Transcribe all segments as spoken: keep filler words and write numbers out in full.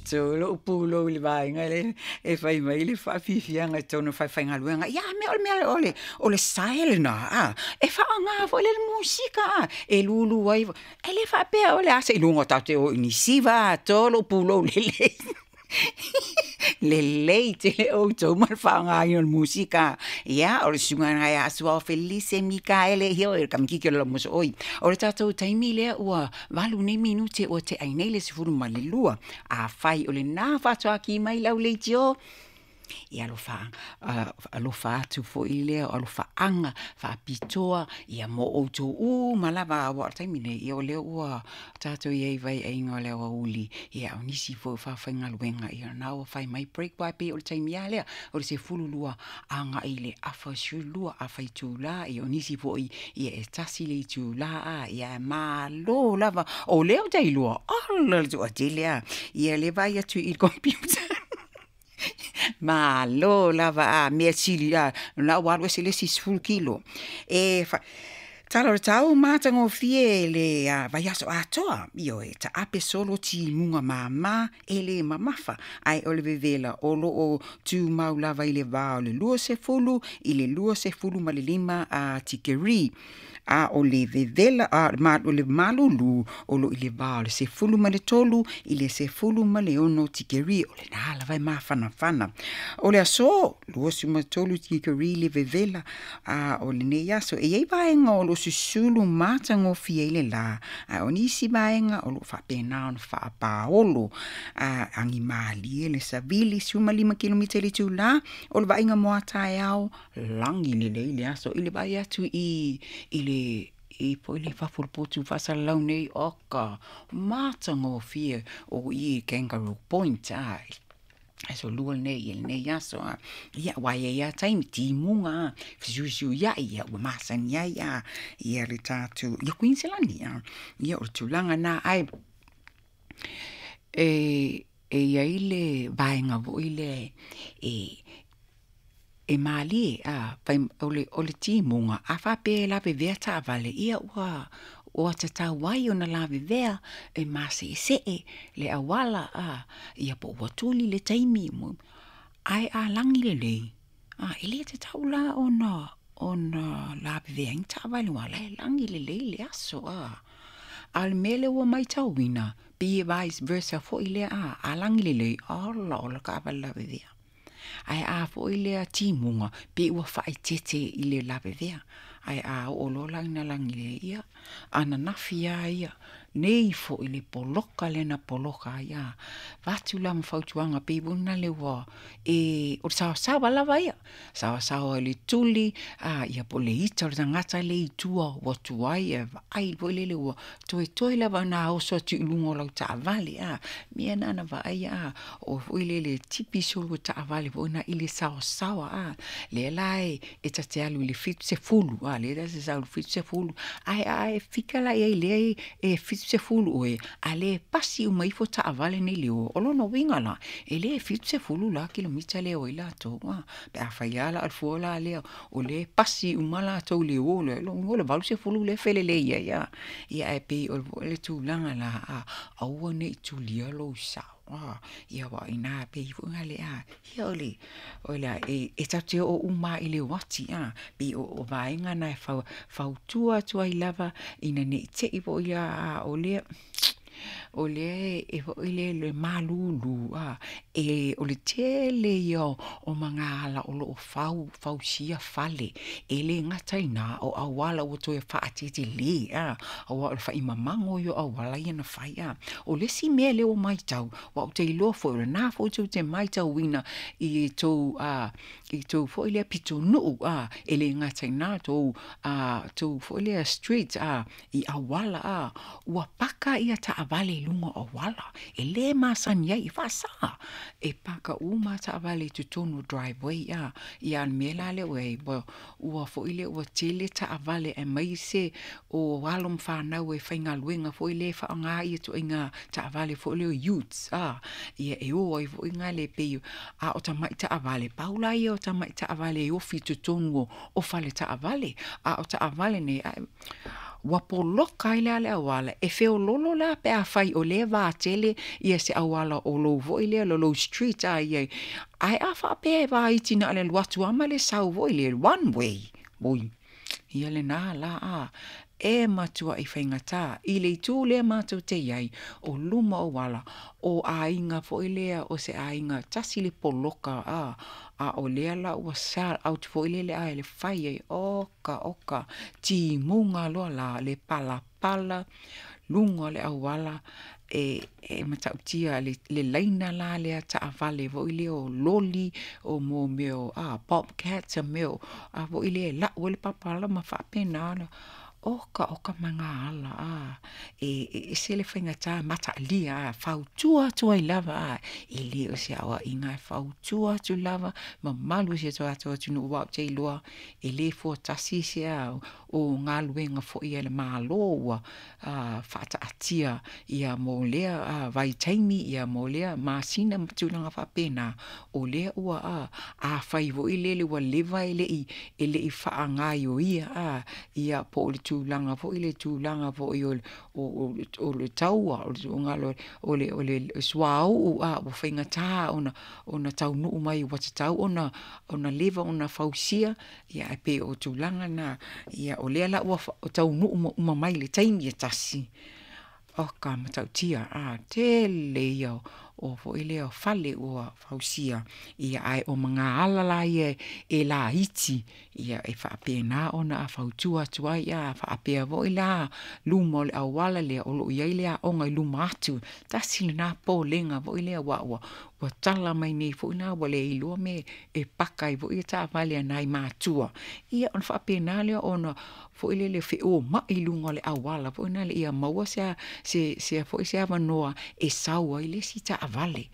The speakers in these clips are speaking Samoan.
To lo'u pulou i le vaega lea e fai mai le faafiafiaga i totonu o fafaigaluega, ia a mea o le mea o le o le sae lena a e faaaoga foi lea le musika a e lulu ai, e le faapea o le a seiloga tatou te o i Niu Siva a, to lou pulou lelei. Lelei tele outou ma le faaaogaina o le musika. Ia, o le susuga lena ia Suao Felise Mikaele, ia o le kamakiki o le laumosoo'i. O le tatou taimi lea ua valu nei minute ua te'ai nei le sefulu ma le lua. Afai o lena faatoa ki mai lau leitio, ia alofa, alofa atu foi lea o alofaaga faapitoa ia mo outou uma lava, aua o le taimi nei, ia o lea ua tatou i ai i vaiaiga o le aoauli, ia o nisi foi o faafaigaluega, ia na ua fai mai break, aua e pei o le taimi lava lea o le sefulu lua agai i le afa sefulu lua afa itula, ia o nisi foi ia e tasi le itula a, ia malo lava o lea ou te iloa ala le toatele a ia le vaai atu i le computer. Malo lava a mea sili a na ua alu ese le isi sefulu kilo. E fa tala o le tau matagofie le a, vaiaso atoa, ioe, taape solo timuga māmā e lē mamafa, ae o le vevela o loo tumau lava i le va o le luasefulu i le luasefulu ma le lima a tikeri, a o le vevela a ma, o le malūlū o loo i le va o le sefulu ma le tolu i le sefulu ma le ono tikeri, o lena lava e mafanafana. O le aso luasefulu ma tolu tikeri le vevela, a o lenei aso e iai vaega o loo susulu matagofie ai le lā, a o nisi vaega o loo faapena ona faapaolo a agi malie le savili sefulumalima kilomita i le itulā. O le vaaiga mo a taeao, lagi lelei le aso i le vaai atu i i le i foi le fafo o le potu faasalalau nei, oka matagofie o i Kangaroo Point a aso lua lenei i lenei aso a. Ia aua e i ai lava taimi timuga a fesuisuia'i, ia ua masani ai a ia le tatou ia Kuiniselani a. Ia o le tulaga lena, ae e e i ai le vaega foi lea e e malie a fai o le o le timuga a faapea e lavevea taavale, ia ua ua tatau ai ona lavevea e mase'ese'e le auala a, ia po ua tuli le taimi, ae a lagi lelei a e lē tatau la ona ona lavevea ai ni taavale aua o la e lagi lelei le aso a. A o le mea lea ua matauina pei e vice versa foi lea a, a lagi lelei ala o le taavale lavevea, ae a foi lea timuga pei ua faaeteete i le lavevea, ae a oo loa la ina lagi lelei, ia ananafi lava ia nei foi le poloka lea na poloka ai a, avatu la ma fautuaga pei foi lena le ua e o le saosaoa lava ia, saosaoa i le tuli a, ia po o le ita o le tagata lea i tua ua tuai ae vaai foi lele ua toetoe lava ona oso atu i luga o lau taavale a, mea na na vaaia a, o foi lele tipi solo taavale foi na i le saosaoa a, lea la e e ta te alu i le fitu sefulu a, lea ta te sau i le fitu sefulu, ae a e fika la i ai lea e fitu sefulu oe a le pasi uma ifo taavale nei le o, o lona uiga la e lē fitu sefulu la kilomita lea o ai latou a, pe afai lava la o le fua la lea o lea e pasi uma latou i le o lea, lona uiga o le valu sefulu lea e felelei ai a. Ia ae pei o le tulaga la a, aua nei tulia lou sao a, ia aua o ina pei foi na le a, ia o le o le a e e tatou te oo uma lava i le uati a, pei o o vaega na e fautua atu ai lava ina nei te'i foi a a o lea o lea e foi lea le malūlū a, e o le tele ia o magaala o loo fau fausia fale, e lē gata i ina o auala ua toe faatetelē a, aua o le faimamago ia o auala ia na fai a. O le isi mea lea ua matau, aua ou te iloa foi o lena foi tou te matauina i tou a i tou foi lea pitonuu a, e lē gata i ina tou a tou foi lea street a i auala a, ua paka ia taavale i luga o auala e lē masani ai, e faasā e paka uma taavale i totonu o driveway a. Ia a o le mea la lea ua i ai, ua ua foi lea ua tele taavale aemaise o alo ma fanau e faigaluega foi lea e faaaoga ia ituaiga taavale foi lea o utes a, ia e o ai foi gale pei a o tama'i taavale, pau la ia o tama'i taavale e ofi i totonu o fale taavale, a o taavale nei ae ua poloka ai lea le auala e feololo la pe afai o lea vatele ia se auala o lou foi lea lo lou street a ia ae a faapea e vaiti na o le alu atu lava ma le sau foi lea one way oi ia lena la a e matuai faigata i le itu lea matou te i ai o luma o auala o aiga foi lea o se aiga tasi le poloka a a o lea la ua sell out foi lele a e fai ai oka oka timuga loa la le palapala luga o le auala e e matautia le le laina la lea taavale foi lea o loli o mo mea o a bobcats a mea o a foi lea e lau ai le palapala ma faapena ona oka oka magaala a e e ese le faigata mataalia a fautua atu ai lava a e le o se aoaiga e fautua atu lava mamalu o si o tatou atunuu aua ou te iloa e le fuatasi se a o galuega foi a le Malo ua faataatia ia mo lea vaitaimi ia mo lea masina ma tulaga faapena o lea ua a afai foi lele ua leva e le i e le i faagaioia a ia po o le tulaga foi le tulaga foi o o o le taua o le o le o le suauu a ua faigata ona ona taunuu mai ua tatau ona ona leva ona fausia ia ae pei o tulaga na ia o lea la ua taunuu uma mai i le taimi e tasi oka matautia a tele ia o foi lea o fale ua fausia ia ae o magaala la ia e laiti ia e faapena ona a fautua atu ai a faapea foi la luma o le auala lea o loo i ai le aoga i luma atu tasi lena popolega foi lea aua ua ua tala mai nei foi la ua le iloa mea e paka ai foi taavale a nai matua ia ona faapena lea ona foi lele feomai i luga o le auala foi lea ia maua se se se foi se avanoa e sau ai le isi taavale.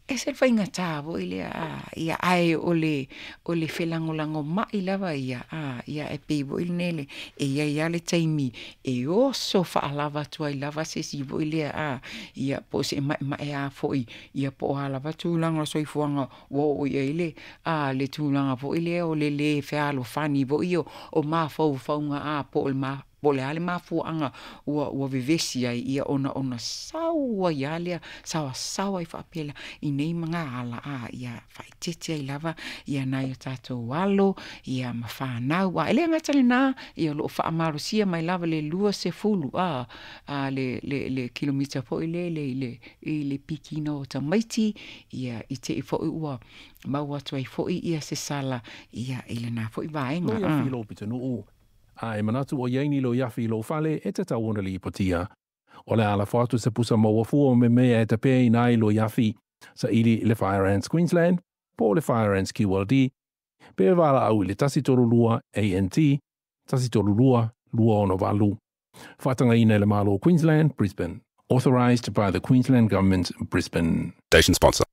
E se faigata foi lea a ia ae o le o le felagolagomai lava ia a ia e pei foi lenei e i ai lava le taimi e oso faalava atu ai lava se isi foi lea a ia po o se maemaea foi ia po o a lava tulaga o le soifuaga ua oo i ai le a le tulaga foi lea o le lē fealofani foi o mafaufauga a po o le ma po o le a le mafuaaga ua ua vevesi ai ia ona ona sau ai lava lea saoasaoa ai faapea i nei magaala a ia faaeteete ai lava ia nai o tatou alo ia ma fanau a e le gata i lena ia o loo faamalosia mai lava le luasefulu a a le le le kilomita foi lele i le i le pikiina o tamaiti ia i tei foi ua maua atu ai foi ia se sala ia i lena foi vaega. Loia filo pitonuu. A e manatu o i ai ni loia i lou fale e tatau ona lipotia. O le a lafo atu se pusa maua fua o mea e tapeina ai loia afi. Saili i le Fire Ants Queensland, po o le Fire Ants Q L D, pe valaau i le tasi tolu lua A N T, tasi tolu lua, lua ono valu. Faatagaina e le Malo Queensland, Brisbane. Authorised by the Queensland Government, Brisbane. Station sponsor.